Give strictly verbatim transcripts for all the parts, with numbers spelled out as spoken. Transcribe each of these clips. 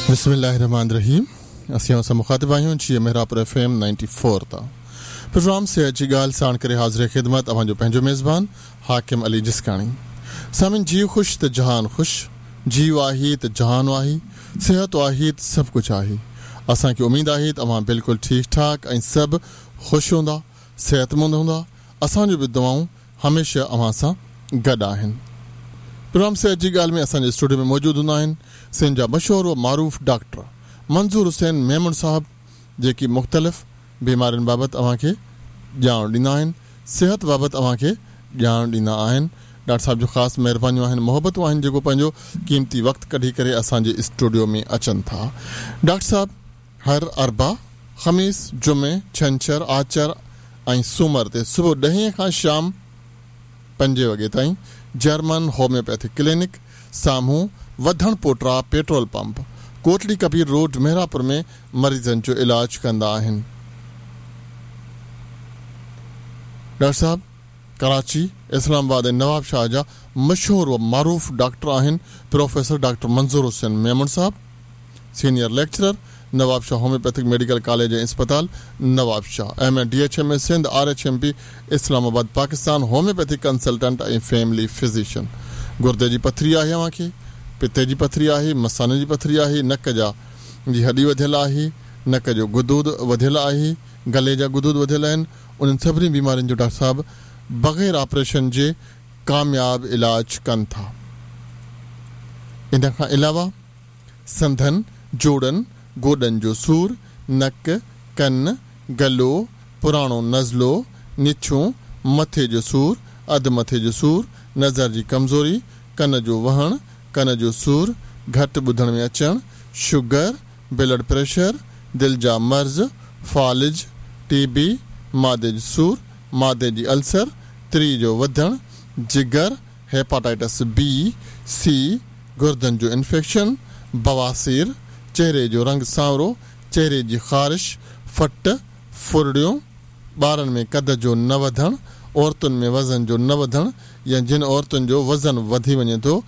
बिस्मिल्लाहिर्रहमानिर्रहीम। असीं असां मुखातिब आहियूं जी Mehrapur F M ninety four तां। प्रोग्राम सेहत जी ॻाल्हि साण करे हाज़िर ख़िदमत अव्हांजो पंहिंजो मेज़बान हाकिम अली जिस्काणी। सामिन, जीउ ख़ुशि त जहान ख़ुशि, जीउ आहे त जहान आहे, सिहत आहे त सभु कुझु आहे। असांखे उमेद आहे त अव्हां बिल्कुलु ठीकु ठाक ऐं सभु ख़ुशि हूंदा, सिहतमंद हूंदा। असांजो बि दुआऊं हमेशह अव्हां सां गॾु आहिनि। प्रोग्राम सेहत जी ॻाल्हि में असांजे स्टूडियो में मौजूदु हूंदा आहिनि सिंध जा मशहूर व मारूफ़ डॉक्टर मंज़ूर हुसैन मेमण साहब, जेकी मुख़्तलिफ़ बीमारियुनि बाबति अव्हांखे ॼाण ॾींदा आहिनि, सिहत बाबति अव्हांखे ॼाण ॾींदा आहिनि। डॉक्टर साहब जो ख़ासि महिरबानियूं आहिनि, मोहबतूं आहिनि, जेको पंहिंजो क़ीमती वक़्तु कढी करे असांजे स्टूडियो में अचनि था। डॉक्टर साहब हर अरबा, ख़मीस, जुमे, छंछर, आचर ऐं सूमर ते सुबुह ॾहें खां शाम पंजे वॻे ताईं जर्मन होम्योपैथिक क्लिनिक साम्हूं Wadhan Pota petrol pump, Kotli Kabir road, Mehrapur में मरीज़नि जो इलाज कंदा आहिनि। डॉक्टर साहब कराची, इस्लामाबाद ऐं नवाबशाह जा मशहूर व मारूफ़ डॉक्टर आहिनि प्रोफेसर डॉक्टर मंज़ूर हुसैन मेमण साहब, senior lecturer, Nawabshah homeopathic medical college ऐं अस्पताल Nawabshah, M A D H M A Sindh, R H M P Islamabad Pakistan, homeopathic consultant ऐं फैमिली फिजिशियन। गुर्दे जी पथरी आहे अव्हांखे, पित्ते जी पथरी आहे, मसाने जी पथरी आहे, नक जा जी हॾी वधियल आहे, नक जो गुदूद वधियल आहे, गले जा गुदूद वधियल आहिनि, उन्हनि सभिनी बीमारियुनि जो डॉक्टर साहब बग़ैर ऑपरेशन जे कामयाब इलाज कनि था। इन खां अलावा संधनि, जोड़नि, गोॾनि जो सूर, नक, कन, गलो, पुराणो नज़लो, निछूं, मथे जो सूर, अधु मथे जो सूर, नज़र जी कमज़ोरी, कन जो वहणु, कन जो सूर, घटि ॿुधण में अचणु, शुगर, ब्लड प्रेशर, दिलि जा मर्ज़, फ़ालिज, टीबी, मादे जो सूर, मादे जी अल्सर, त्रीअ जो वधणु, जिगर, हेपाटाइटिस बी, सी, गुर्दनि जो इन्फेक्शन, बवासीर, चेहरे जो रंग सांवरो, चेहरे जी ख़ारिश, फट, फुरड़ियूं, ॿारनि में कद जो न वधणु, औरतुनि में वज़न जो न वधणु या जिन औरतुनि जो वज़न वधी वञे थो,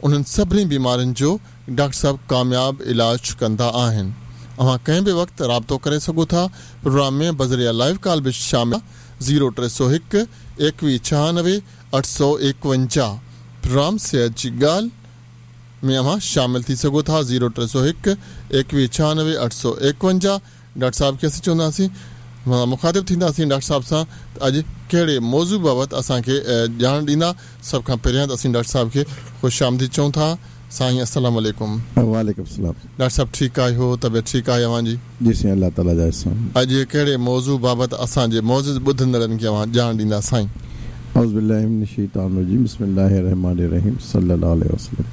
उन्हनि सभिनी बीमारियुनि जो डॉक्टर साहब कामयाब इलाज कंदा आहिनि। अव्हां कंहिं बि वक़्तु राब्तो करे सघो था। प्रोग्राम में बज़रिया लाइव कॉल बि शामिल ज़ीरो टे सौ हिकु एकवीह छहानवे अठ सौ एकवंजाह। प्रोग्राम सेहत जी ॻाल्हि में अव्हां शामिल थी सघो था। ज़ीरो टे सौ हिकु एकवीह छहानवे अठ सौ एकवंजाह। डॉक्टर साहब खे असीं चवंदासीं, मुखातिब थींदासीं डॉक्टर साहब सां त अॼु कहिड़े मौज़ू बाबति असांखे ॼाण ॾींदा। सभ खां पहिरियां त असीं डॉक्टर साहब खे ख़ुशि आमदीद चऊं था। साईं अस्सलाम वालेकुम। वालेकुम सलाम। डॉक्टर साहब ठीकु आहियो? तबियत ठीकु आहे अव्हांजी? जी साईं, अलाह ताला जा एहसान। अॼु कहिड़े मौज़ू बाबति असांजे मौज़ूद ॿुधंदड़नि खे अव्हां ॼाण ॾींदा साईं? औज़ु बिल्लाहि मिनश शैतानिर रजीम, बिस्मिल्लाहिर रहमानिर रहीम, सल्लल्लाहु अलैहि वसल्लम।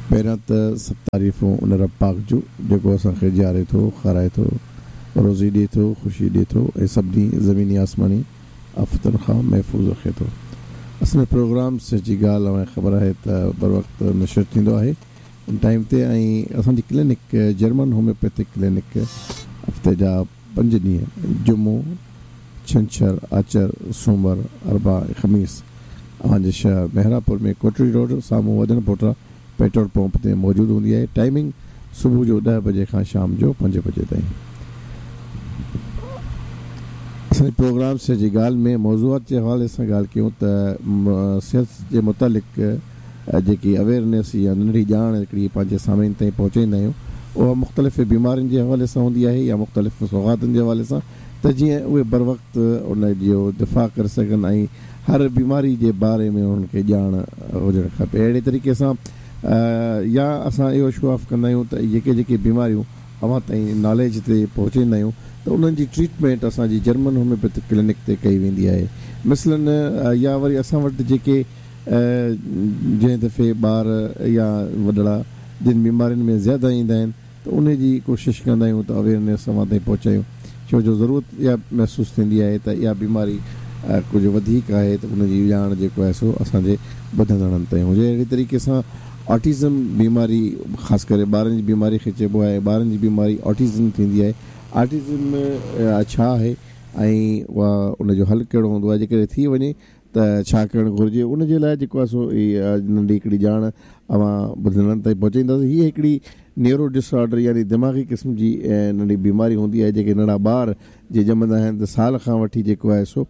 पहिरियां त सभु तारीफ़ूं उन रब पाक जूं जेको असांखे जीआरे थो, खाराए थो, रोज़ी ॾिए थो, ख़ुशी ॾिए थो ऐं सभिनी ज़मीनी आसमानी आफ़तुनि खां महफ़ूज़ रखे थो। असल में प्रोग्राम सेहत जी ॻाल्हि अव्हांखे ख़बर आहे त बर वक़्तु नशर थींदो आहे उन टाइम ते ऐं असांजी क्लिनिक जर्मन होम्योपैथिक क्लिनिक हफ़्ते जा पंज ॾींहं जुमो, छंछर, आचर, सूमर, अरबा ऐं ख़मीस अव्हांजे शहर मेहरापुर में कोटड़ी रोड साम्हूं वधण पोटा पेट्रोल पंप ते मौजूदु हूंदी आहे। टाइमिंग सुबुह जो ॾह बजे खां शाम जो पंज बजे ताईं। असांजे प्रोग्राम सेहत जी ॻाल्हि में मौज़ूआत जे हवाले सां ॻाल्हि कयूं त सिहत जे मुतालिक़ जेकी अवेयरनेस या नंढड़ी ॼाण हिकिड़ी पंहिंजे सामीन ताईं पहुचाईंदा आहियूं, उहा मुख़्तलिफ़ बीमारियुनि जे हवाले सां हूंदी आहे या मुख़्तलिफ़ सौगातुनि जे हवाले सां, त जीअं उहे बर वक़्तु उन जो दिफ़ा करे सघनि ऐं हर बीमारी जे बारे में उन्हनि खे ॼाण हुजणु खपे। अहिड़े तरीक़े सां या असां इहो शो ऑफ कंदा आहियूं त जेके जेके बीमारियूं अव्हां ताईं नॉलेज ते पहुचाईंदा आहियूं त उन्हनि जी ट्रीटमेंट असांजी जर्मन होम्योपैथिक क्लिनिक ते कई वेंदी आहे। मसलन या वरी असां वटि जेके जंहिं दफ़े ॿार या वॾड़ा जिन बीमारियुनि में ज़्यादा ईंदा आहिनि त उन जी कोशिशि कंदा आहियूं त अवेयरनेस अव्हां ताईं पहुचायूं, छो जो ज़रूरत इहा महसूसु थींदी आहे त इहा बीमारी कुझु वधीक आहे त उनजी ॼाण जेको आहे सो असांजे ॿुधंदड़नि ताईं हुजे। अहिड़े तरीक़े सां ऑटिज़म बीमारी ख़ासि करे ॿारनि जी बीमारी खे चइबो आहे, ॿारनि जी बीमारी ऑटिज़म थींदी आहे। ऑटिज़म छा आहे ऐं उहा उनजो हल कहिड़ो हूंदो आहे, जेकॾहिं थी वञे ته ڇا ڪرڻ گهرجي ان جي لاءِ جيڪو آهي سو ننڍي هڪڙي ڄاڻ اوهان ٻڌندڙن تائين پهچائينداسين. هيءَ هڪڙي نيورو ڊس آرڊر يعني دماغي قسم جي ننڍي بيماري هوندي آهي جيڪي ننڍا ٻار جي ڄمندا آهن ته سال کان وٺي جيڪو آهي سو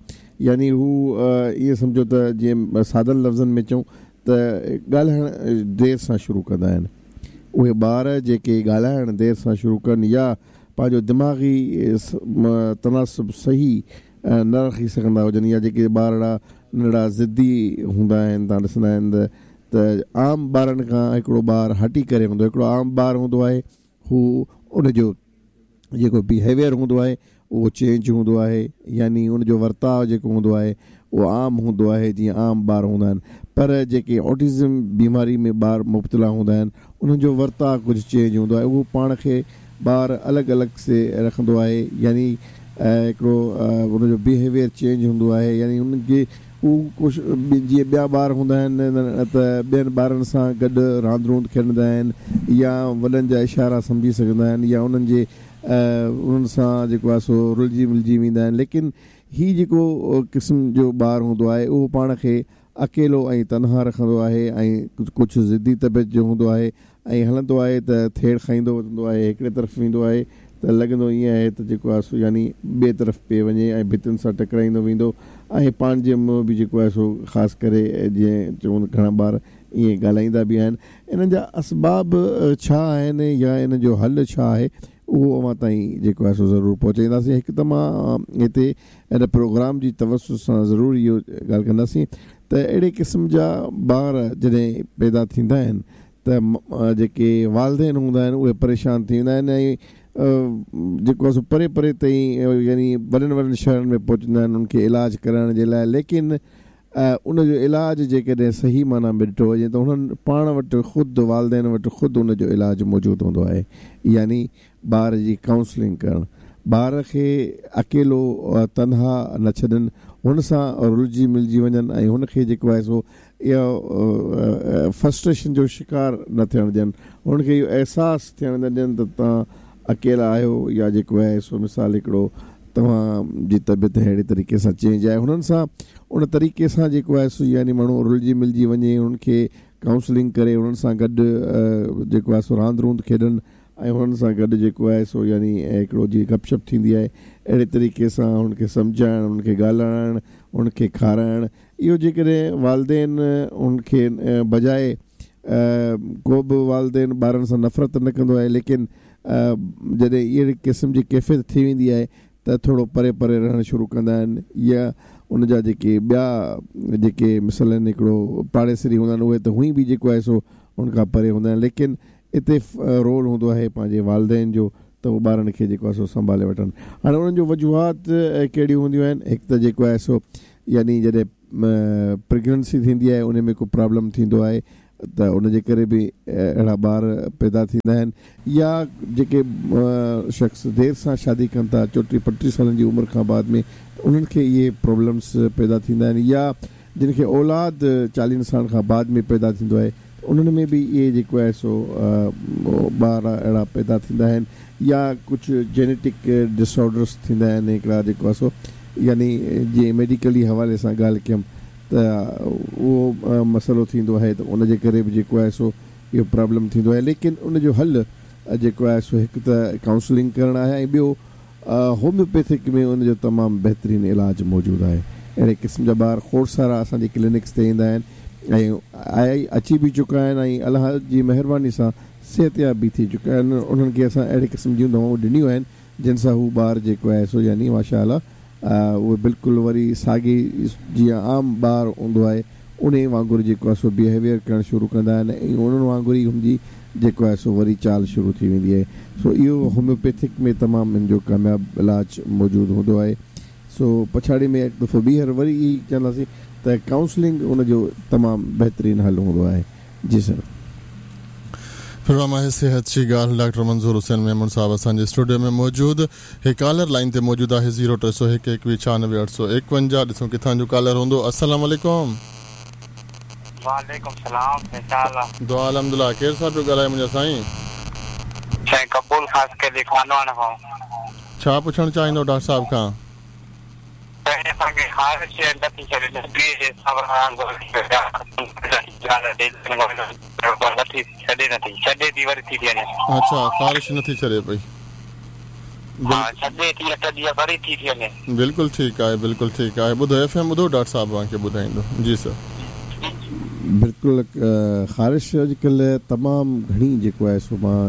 يعني هو ائين سمجهو ته جيئن سادن لفظن ۾ چئون ته ڳالهائڻ دير سان شروع ڪندا آهن. اهي ٻار جيڪي ڳالهائڻ دير سان شروع ڪن يا پنهنجو دماغي تناسب صحيح نه رکي سگهندا هجن يا جيڪي ٻارڙا ننڍڙا ضدي هوندا آهن توهان ڏسندا آهن ته عام ٻارن کان هڪڙو ٻار هٽي ڪري هوندو هڪڙو عام ٻار هوندو آهي هو ان جو جيڪو بهيويئر هوندو آهي اهو چينج هوندو آهي يعني ان جو ورتاءُ جيڪو هوندو آهي اهو عام هوندو آهي جيئن عام ٻار هوندا آهن. پر جيڪي آٽزم بيماري ۾ ٻار مبتلا هوندا آهن انهن جو ورتاءُ ڪجهه چينج هوندو آهي. اهو پاڻ کي ٻار الڳ الڳ سي رکندو آهي يعني هڪڙو هن جو بهيويئر چينج هوندو آهي يعني هن کي هو ڪجهه جيئن ٻيا ٻار هوندا آهن ته ٻين ٻارن سان گڏ راند روند کيڏندا آهن يا وڏن جا اشارا سمجهي سگهندا آهن يا انهن جي انهن سان جيڪو آهي سو رلجي ملجي ويندا آهن. ليڪن هيءُ جيڪو قسم جو ٻار هوندو آهي اهو پاڻ کي اڪيلو ۽ تنها رکندو آهي ۽ ڪجهه ضدي طبيعت جو هوندو آهي ۽ هلندو آهي ته ٿيڙ کائيندو وتندو آهي هڪڙي طرف ويندو آهي ته لڳندو ائين آهي ته جيڪو آهي سو يعني ٻئي طرف پئي وڃي ۽ ڀتين سان ٽڪرائيندو ويندو ۽ پنهنجي منهن به جيڪو آهي سو خاص ڪري جيئن چون گهڻا ٻار ائين ڳالهائيندا به آهن. انهن جا اسباب ڇا آهن يا ان جو حل ڇا آهي اهو اوهان تائين جيڪو آهي سو ضرور پهچائينداسين. هڪ ته مان هتي ان پروگرام جي توسط سان ضرور اهو ڳالهه ڪنداسين ته اهڙي قسم جا ٻار جڏهن پيدا ٿيندا آهن ته جيڪي والدين هوندا آهن اهي پريشان ٿي ويندا آهن ۽ جيڪو آهي سو پري پري تائين يعني وڏن وڏن شهرن ۾ پهچندا آهن ان کي علاج ڪرائڻ جي لاءِ. ليڪن ان جو علاج جيڪڏهن صحيح معنيٰ ۾ ڏٺو وڃي ته هنن پاڻ وٽ خود والدين وٽ خود ان جو علاج موجود هوندو آهي يعني ٻار جي ڪائونسلنگ ڪرڻ، ٻار کي اڪيلو تنها نه ڇڏن، هن سان رلجي ملجي وڃن ۽ هن کي جيڪو آهي سو اهو فرسٽريشن جو شڪار نه ٿيڻ ڏين، هن کي اهو احساس ٿيڻ نه ڏين ته توهان اڪيلا آهيو يا جيڪو آهي سو مثال هڪڙو توهان جي طبيعت اهڙي طريقي سان چينج آهي. هنن سان ان طريقي سان جيڪو آهي سو يعني ماڻهو رلجي ملجي وڃي، هنن کي ڪائونسلنگ ڪري، هنن سان گڏ جيڪو آهي سو راند روند کيڏن ۽ هنن سان گڏ جيڪو آهي سو يعني هڪڙو جيئن گپ شپ ٿيندي آهي اهڙي طريقي سان هن کي سمجهائڻ، هن کي ڳالهائڻ، هن کي کارائڻ، اهو جيڪڏهن والدين هن کي بجاءِ ڪو به والدين ٻارن سان نفرت نه ڪندو آهي، ليڪن جڏهن اهڙي قسم جي ڪيفيت ٿي ويندي آهي ته ٿورو پري پري رهڻ شروع ڪندا آهن يا ان جا جيڪي ٻيا جيڪي مثلن هڪڙو پاڙيسري هوندا آهن اهي ته هونئن به جيڪو آهي سو هن کان پري هوندا آهن. ليڪن هتي رول هوندو آهي پنهنجي والدين جو ته اهو ٻارن کي جيڪو آهي سو سنڀالي وٺن. هاڻي انهن جو وجوهات ڪهڙيون هونديون آهن؟ هڪ ته جيڪو آهي سو يعني جڏهن پريگننسي ٿيندي آهي ان ۾ ڪو پرابلم ٿيندو آهي ته ان جي ڪري به اهڙا ٻار پيدا ٿيندا آهن، يا جيڪي شخص دير سان شادي ڪن ٿا چوٽيهه پنٽيهه سالن جي عمر کان بعد ۾ انهن کي اهي پرابلمس پيدا ٿيندا آهن، يا جن کي اولاد چاليهن سالن کان بعد ۾ پيدا ٿيندو آهي انهن ۾ به اهي جيڪو آهي سو ٻار اهڙا پيدا ٿيندا آهن، يا ڪجهه جينيٽڪ ڊس آرڊرس ٿيندا آهن هڪڙا جيڪو آهي سو يعني جيئن ميڊيڪلي حوالي سان ڳالهه ڪيم ته اهو مسئلو ٿيندو آهي ته ان جي ڪري به جيڪو آهي سو اهو پرابلم ٿيندو آهي. ليڪن ان جو حل جيڪو آهي سو هڪ ته ڪائونسلنگ ڪرڻ آهي ۽ ٻيو هوميوپيٿڪ ۾ ان جو تمام بهترين علاج موجود آهي. اهڙي قسم جا ٻار کوڙ سارا اسان جي ڪلينڪس تي ايندا آهن ۽ آئي اچي به چڪا آهن ۽ الله جي مهرباني سان صحتياب به ٿي چڪا آهن. انهن کي اسان اهڙي قسم جون دوائون ڏنيون آهن جن سان هو ٻار جيڪو آهي سو يعني ماشا الله اهي بلڪل وري ساڳي جيئن عام ٻار هوندو آهي ان وانگر جيڪو آهي سو بهيويئر ڪرڻ شروع ڪندا آهن ۽ انهن وانگر ئي هن جي جيڪو آهي سو وري چال شروع ٿي ويندي آهي. سو اهو هوميوپيٿڪ ۾ تمام هن جو ڪامياب علاج موجود هوندو آهي. سو پڇاڙي ۾ هڪ دفعو ٻيهر وري ئي چونداسين ته ڪائونسلنگ ان جو تمام بهترين حل هوندو آهي. جي سر. پروگرام آهي صحت جي ڳالهه. ڊاڪٽر منظور حسين ميمڻ صاحب اسان جي اسٽوڊيو ۾ موجود. هي ڪالر لائن تي موجود آهي زيرو ٽي سؤ هڪ ايڪويهه ڇهانوي اٺ سؤ ايڪونجاهه. ڏسون ڪٿان جو ڪالر هوندو. السلام عليڪم. وعليڪم سلام. دعا الحمدلله. ڪير صاحب پيو ڳالهائي منهنجا سائين؟ سائين قبول خاص ڪيلي خانواهڻ کان. ڇا پڇڻ چاهيندو ڊاڪٽر صاحب کان؟ असांखे ख़ारिश नथी छॾे, नदी जे हिसाब सां नथी छॾे, नथी छॾे थी वरी थी थी वञे। अच्छा, ख़ारिश नथी छॾे पई। हा, छॾे थी अठ ॾींहं वरी थी थी वञे। बिल्कुलु ठीकु आहे, बिल्कुलु ठीकु आहे। ॿुधो एफ एम ॿुधो, डॉक्टर साहिबु तव्हांखे ॿुधाईंदो। जी सर। बिल्कुलु, ख़ारिश अॼुकल्ह तमामु घणी जेको आहे सो मां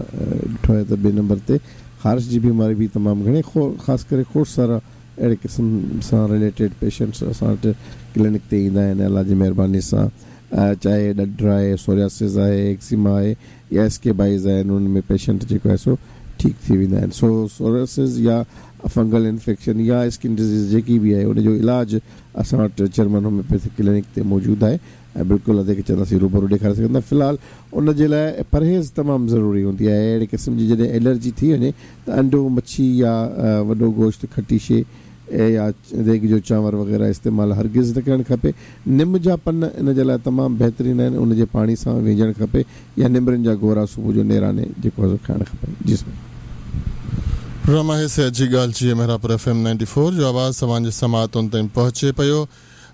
ॾिठो आहे त ॿिए नंबर ते ख़ारिश जी बीमारी बि तमामु घणे, ख़ासि करे खोड़ सारा अहिड़े क़िस्म सां रिलेटेड पेशेंट्स असां वटि क्लिनिक ते ईंदा आहिनि अलाह जी महिरबानी सां। चाहे ॾढ आहे, सोरियासिस आहे, एक्सिमा आहे या स्केबाइज़ आहिनि, उन्हनि में पेशेंट जेको आहे सो ठीकु थी वेंदा आहिनि। सो सोरियासिस या फंगल इन्फेक्शन या स्किन डिज़ीज़ जेकी बि आहे उनजो इलाजु असां वटि जर्मन होम्योपैथिक क्लिनिक ते मौजूदु आहे ऐं बिल्कुलु अधे खे चवंदासीं रूबरू ॾेखारे सघंदा। फ़िलहालु उन जे लाइ परहेज़ तमामु ज़रूरी हूंदी आहे। अहिड़े क़िस्म जी जॾहिं एलर्जी थी वञे त अंडो, मच्छी या वॾो गोश्त, खटी शइ या देग जो चांवर वग़ैरह इस्तेमालु हरगिज़ न करणु खपे। निम जा पन इन जे लाइ तमामु बहितरीनु आहिनि, उनजे पाणी सां विझणु खपे या निमरनि जा गोरा सुबुह जो नेराने जेको आहे खाइणु खपनि। जी सर। प्रोग्राम आहे सिहत जी ॻाल्हि जी Mehrapur F M ninety four जो आवाज़ तव्हांजे समाअतुनि ताईं पहुचे पियो।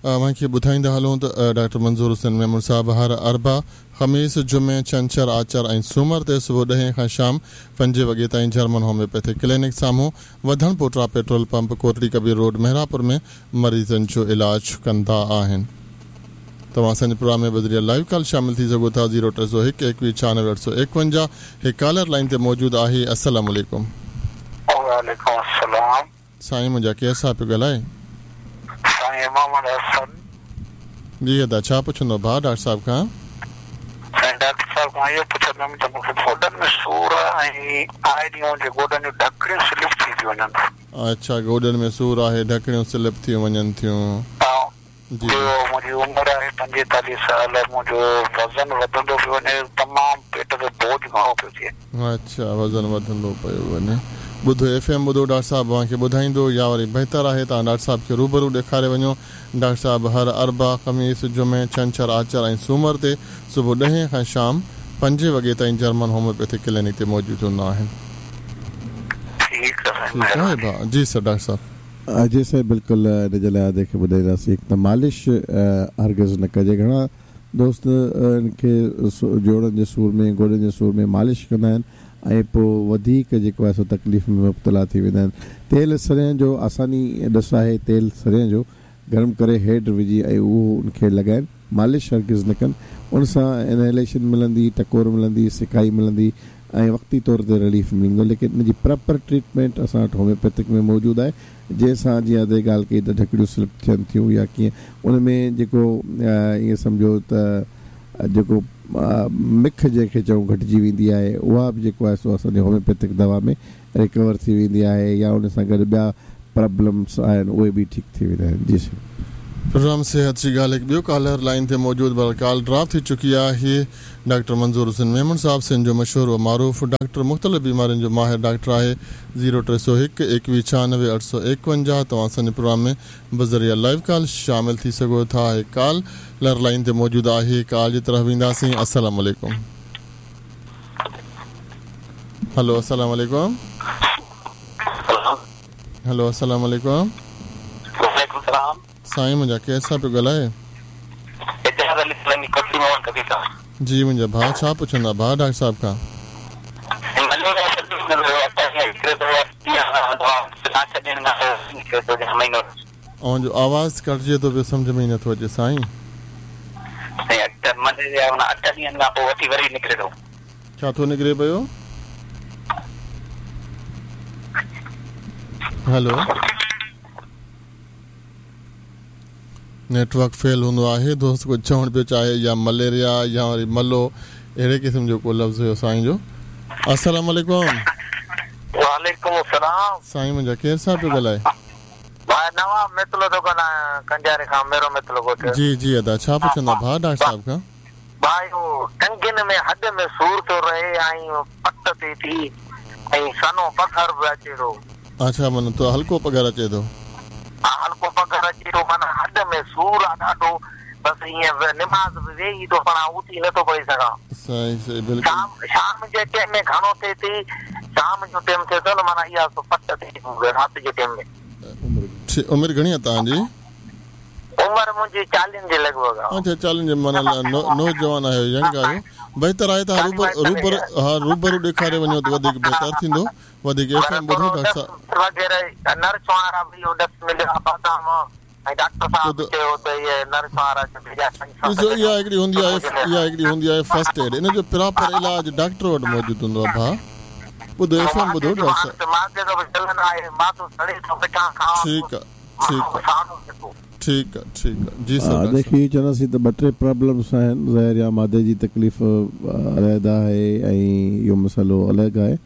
तव्हांखे ॿुधाईंदा हलूं त डॉक्टर मंज़ूर हुसैन मेमण साहिबु हर अरबा, ख़मीस, जुमे, छंछर, आचर ऐं सूमर ते सुबुह ॾहें खां शाम पंजे वॻे ताईं जर्मन होम्योपैथिक क्लिनिक साम्हूं Wadhan Pota petrol pump, Kotri Kabir road, Mehrapur में मरीज़नि जो इलाजु कंदा आहिनि। तव्हां असांजे प्रोग्राम में बज़रिया लाइव कॉल शामिल थी सघो था। ज़ीरो टे सौ हिकु एकवीह छानवे अठ सौ एकवंजाह। हिकु कॉलर लाइन ते मौजूदु आहे। अस्सलाम वालेकुम। वालेकुम अस्सलाम। साईं मुंहिंजा केरु सां पियो ॻाल्हाए? साईं मोहम्मद हसन। जी अदा, छा पुछंदो भाउ डॉक्टर साहिब खां? साईं डॉक्टर साहिब खां इहो पुछंदमि त मूंखे गोॾनि में सूर आहे ऐं आए ॾींहुं मुंहिंजे गोॾनि जूं ढकणियूं स्लिप थी थी वञनि। अच्छा, गोॾनि में सूर आहे, ढकणियूं स्लिप थी वञनि थियूं। जी, मुंहिंजी उमिरि आहे पंजेतालीह साल, मुंहिंजो वज़न वधंदो पियो वञे, तमामु पेट ते बोझ घणो पियो थिए। अच्छा, वज़न वधंदो पियो वञे। ॿुधो एफ एम ॿुधो, डॉक्टर साहिबु तव्हांखे ॿुधाईंदो या वरी बहितर आहे तव्हां डॉक्टर साहिबु खे रूबरू ॾेखारे वञो। डॉक्टर साहिबु हर अरबा, ख़मीस, जुमे, छंछर, आचर ऐं सूमर ते सुबुह ॾहें खां शाम पंजे वॻे ताईं जर्मन होम्योपैथिक क्लिनिक ते मौजूदु हूंदा आहिनि। ठीकु आहे भाउ। जी सर, डॉक्टर साहिबु। जी सर, बिल्कुलु इन जे लाइ अधे खे ॿुधाईंदासीं। हिकु त मालिश हरगिज़ न कजे। घणा दोस्त इनखे जोड़नि जे सूर में, गोॾनि जे सूर में मालिश कंदा आहिनि ऐं पोइ वधीक जेको आहे सो तकलीफ़ में मुब्तला थी वेंदा आहिनि। तेल सरेआं जो आसानी ॾस आहे, तेल सरेआं जो गरम करे हेठि विझी ऐं उहो उनखे लॻाइनि, मालिश हरगिज़ न कनि। उन सां इनहेलेशन मिलंदी, टकोर मिलंदी, सिकाई मिलंदी ऐं वक़्ती तौर ते रिलीफ मिलंदो। लेकिन इन जी प्रॉपर ट्रीटमेंट असां वटि होम्योपैथिक में मौजूदु आहे, जंहिंसां जीअं अधे ॻाल्हि कई त ढकणियूं स्लिप थियनि थियूं या कीअं, उन में जेको ईअं सम्झो त जेको मिख जंहिंखे चऊं घटिजी वेंदी आहे, उहा बि जेको आहे सो असांजी होम्योपैथिक दवा में रिकवर थी वेंदी आहे या उन सां गॾु ॿिया प्रॉब्लम्स आहिनि उहे बि ठीकु थी वेंदा आहिनि। जी सर। प्रोग्राम सेहत जी ॻाल्हि हिकु ॿियो कॉलर लाइन ते मौजूदु, पर कॉल ड्रॉप थी चुकी आहे। डॉक्टर मंज़ूर हुसैन मेमण साहिबु सिंध जो मशहूर व मारूफ़ डॉक्टर, मुख़्तलिफ़ बीमारियुनि जो माहिर डॉक्टर आहे। ज़ीरो टे सौ हिकु एकवीह छानवे अठ सौ एकवंजाह। तव्हां असांजे प्रोग्राम में बज़रिया लाइव कॉल शामिल थी सघो था। कॉल लर लाइन ते मौजूदु आहे, कॉल जी तरफ़ वेंदासीं। अस्सलाम वालेकुम। हेलो, अस्सलाम वालेकुम। हेलो, अस्सलाम वालेकुम। साईं मुंहिंजा केरु सां पियो ॻाल्हाए? जी मुंहिंजा भाउ, छा पुछंदा भाउ डॉक्टर साहिब खां? ऐं जो आवाज़ कटिजे थो पियो, सम्झ में ई नथो अचे साईं। छा थो निकिरे पियो? हेलो, नेटवर्क फेल हूंदो आहे। दोस्त कुझु चवणु पियो चाहे या मलेरिया या वरी मलो, अहिड़े क़िस्म जो को लफ़्ज़ हुयो साईं जो। अस्सलाम वालेकुम। वालेकुम अस्सलाम। साईं मुंहिंजा केरु सां पियो ॻाल्हाए? भाई नवाब मितलो थो ॻाल्हायां, कंजारे खां, मेरो मितलो ॻोठ। जी जी अदा, छा पुछंदा भाउ डॉक्टर साहिब खां? भाई उहो टंगियुनि में हॾ में सूर थो रहे ऐं पट थिए थी ऐं सनो पघर बि अचे थो। अच्छा, माना तो हल्को पघर अचे थो। हल्को पघर अचे थो, माना हॾ में सूर आहे ॾाढो, बसि ईअं निमाज़ बि वेही थो पढ़ां, उथी नथो पढ़ी सघां। सही सही, बिल्कुलु। शाम शाम जे टाइम में घणो थिए थी, शाम जो टाइम थिए थो न, माना इहा पट थिए थी राति जे टाइम में। उमिरि घणी आहे तव्हांजी? उमर मुंहिंजी चालीहनि जे लॻ भॻ आहे। अच्छा, चालीहनि जे माना नौजवान आहियो, यंग आहियो, बहितर आहे त रूबरू रूबरू हा रूबरू ॾेखारे वञो त वधीक बहितर थींदो। वधीक एफ एम ॿुधो डॉक्टर साहिब वग़ैरह नर्स वारा बि इहो ॾस मिलियो आहे बादाम ऐं डॉक्टर साहिब चयो त इहे नर्स वारा ॾिसो इहा हिकिड़ी हूंदी आहे, इहा हिकिड़ी हूंदी आहे फर्स्ट एड, इन जो प्रॉपर इलाज डॉक्टर वटि मौजूदु हूंदो आहे। भाउ ॿुधो एफ एम ॿुधो डॉक्टर साहिब। ठीकु आहे, ठीकु आहे, ठीकु आहे, ठीकु आहे जी सर। देखिए चवंदासीं त ॿ टे प्रॉब्लम्स आहिनि, ज़ाहिर आहे मादे जी तकलीफ़ अलहदा आहे ऐं इहो मसइलो अलॻि आहे।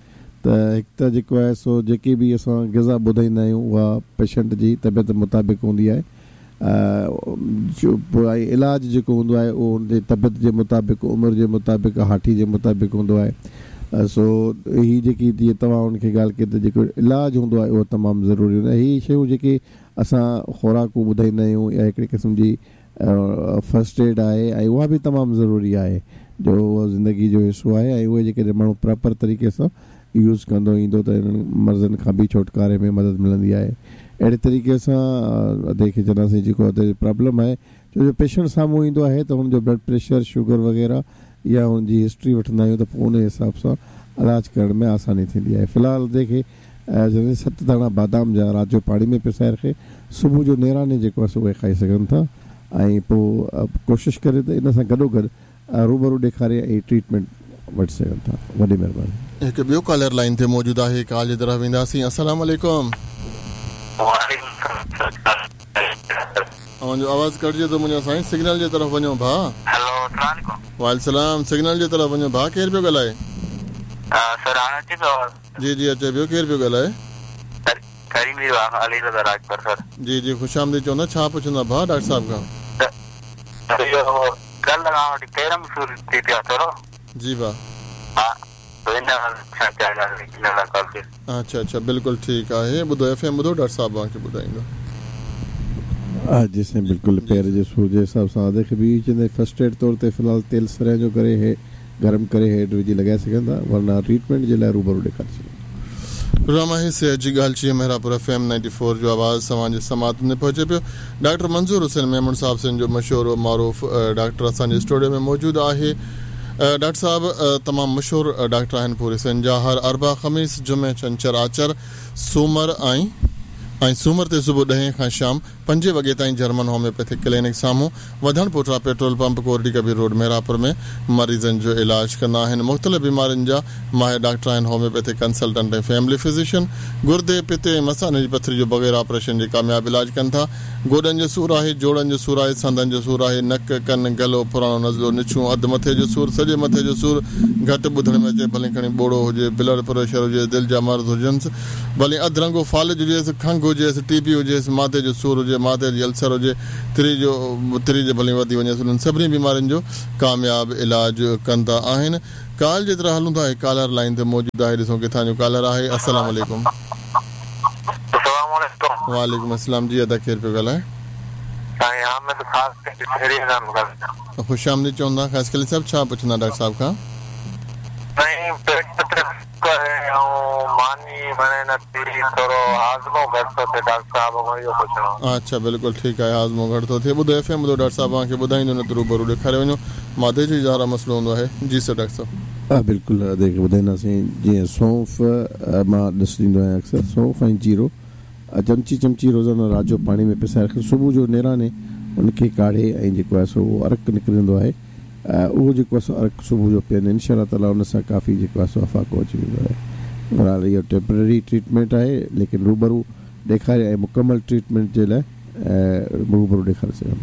त हिकु त जेको आहे सो जेकी बि असां ग़िज़ा ॿुधाईंदा आहियूं उहा पेशेंट जी तबियत मुताबिक़ हूंदी आहे, जो इलाज जेको हूंदो आहे उहो हुनजी तबियत जे मुताबिक़, उमिरि जे मुताबिक़, हाठी जे मुताबिक़ हूंदो आहे। सो हीअ जेकी जीअं तव्हां हुनखे ॻाल्हि कई त जेको इलाज हूंदो आहे उहो तमामु ज़रूरी हूंदो आहे। हीअ शयूं जेकी असां ख़ुराकूं ॿुधाईंदा आहियूं या हिकिड़े क़िस्म जी फर्स्ट एड आहे ऐं उहा बि तमामु ज़रूरी आहे, जो उहो ज़िंदगी जो हिसो आहे ऐं उहे जेकॾहिं माण्हू प्रॉपर तरीक़े सां यूज़ कंदो ईंदो त इन्हनि मर्ज़नि खां बि छुटकारे में मदद मिलंदी आहे। अहिड़े तरीक़े सां अदे खे चवंदासीं जेको अदे प्रॉब्लम आहे, छो जो पेशेंट साम्हूं ईंदो आहे त हुनजो ब्लड प्रेशर, शुगर वग़ैरह या हुनजी हिस्ट्री वठंदा आहियूं त पोइ उन हिसाब सां इलाज करण में आसानी थींदी आहे। फ़िलहाल अदे खे सत दाणा बादाम जा राति जो पाणी में पिसाए रखे, सुबुह जो नेराने जेको आहे सो उहे खाई सघनि था ऐं पोइ कोशिशि करे त इन सां गॾोगॾु रूबरू ॾेखारे ऐं ट्रीटमेंट वठी सघनि था। वॾी महिरबानी। हिकु ॿियो कॉलर लाइन ते मौजूदु आहे, कॉल जे तरफ़ वेंदासीं। अस्सलाम वालेकुम। अव्हांजो आवाज़ कटिजे थो मुंहिंजो साईं, सिग्नल जे तरफ़ वञो भाउ। हेलो, अस्सलाम वालेकुम। वालेकुम सलाम। सिग्नल जे तरफ़ वञो भाउ, केरु पियो ॻाल्हाए? सर हाणे अचे पियो आवाज़? जी जी अचे पियो, केरु पियो ॻाल्हाए? करीम अली रज़ा राजपर सर। जी जी, ख़ुशि आमदीद चवंदा। छा पुछंदा भाउ डॉक्टर साहिब खां? कल्ह खां वठी पेर में सूर थी पियो थोरो। जी भाउ। हा, अच्छा अच्छा, बिल्कुलु ठीकु आहे। ॿुधो एफ एम ॿुधो, डॉक्टर साहिब तव्हांखे ॿुधाईंदो। हा जी साईं, बिल्कुलु पेर जे सूर जे हिसाब सां अदे खे बि चवंदा फर्स्ट एड तौर ते फ़िलहालु तेल सरेआं जो करे हे गरम करे हेठि विझी लॻाए सघनि था, वरना ट्रीटमेंट जे लाइ रूबरू ॾेखारे सघनि। प्रोग्राम आहे सेहत जी ॻाल्हि चीअं Mehrabpur F M ninety four जो आवाज़ तव्हांजे समात में पहुचे पियो। डॉक्टर मंज़ूर हुसैन मेमण साहिब सिंध जो मशहूर व मारूफ़ डॉक्टर असांजे स्टूडियो में मौजूदु आहे। डॉक्टर साहिब तमामु मशहूर डॉक्टर आहिनि पूरे सिंध जा। हर अरबा, ख़मीस, जुमे, छंछर, आचर, सूमर ऐं ऐं सूमर ते सुबुह ॾहें खां शाम पंजे वॻे ताईं जर्मन होम्योपैथिक क्लिनिक साम्हूं वधण पोठा petrol pump Kordi Kabir road Mehrapur में मरीज़नि जो इलाज कंदा आहिनि। मुख़्तलिफ़ बीमारियुनि जा माहिर डॉक्टर आहिनि, होम्योपैथिक कंसल्टेंट ऐं फैमिली फिजिशियन। गुर्दे, पिते ऐं मसाने जी पथरी जो बग़ैर ऑपरेशन जे कामयाबु इलाज कनि था। गोॾनि जो सूर आहे, जोड़नि जो सूर आहे, संदनि जो सूर आहे, नक, कन, गलो, पुराणो नज़लो, निछूं, अधु मथे जो सूर, सॼे मथे जो सूर, घटि ॿुधण में अचे, भले खणी ॿोड़ो हुजे, ब्लड प्रेशर हुजे, दिलि जा मर्ज़ हुजनि, भले अधरंगो फ़ालिज हुजेसि, खंघ हुजेसि, टीबी हुजेसि, माथे जो सूर हुजे, माथे जी अल्सर हुजे, तिरी जो तिरी जे भले वधी वञेसि, उन्हनि सभिनी बीमारियुनि जो कामयाबु इलाज कंदा आहिनि। कॉल जे तरह हलूं था, कॉलर लाइन ते मौजूदु आहे, ॾिसो किथां जो कॉलर आहे। अस्सलाम वालेकुम। वालेकुम अस्सलाम। जी अदा, केरु पियो ॻाल्हाए? ख़ुशि आमदीद चवंदा। ख़ासि साहिब, छा पुछंदा डॉक्टर साहिब खां? अच्छा, बिल्कुलु ठीकु आहे, हाज़मो घटि थो थिए। ॿुधो एफ एम ॿुधो, डॉक्टर साहिब तव्हांखे ॿुधाईंदो, न त रूबरू ॾेखारे वञो। मादे जो ज़ारा मसइलो हूंदो आहे। जी सर, डॉक्टर साहिब। हा बिल्कुलु, अदे खे ॿुधाईंदासीं। जीअं सौंफ मां ॾिस ॾींदो आहियाँ अक्सर, सौंफ ऐं जीरो चमची चमची रोज़ानो राति जो पाणी में पिसाए रखे, सुबुह जो नेराने उनखे काढ़े ऐं जेको आहे सो उहो अर्क निकिरंदो आहे, उहो जेको आहे सो अर्क सुबुह जो पीअनि, इनशा ताला उन सां काफ़ी जेको आहे सो अफाको अची वेंदो आहे। बहरहाल इहो टेम्पररी ट्रीटमेंट आहे, लेकिन रूबरू ॾेखारे ऐं मुकमल ट्रीटमेंट जे लाइ रूबरू ॾेखारे सघनि।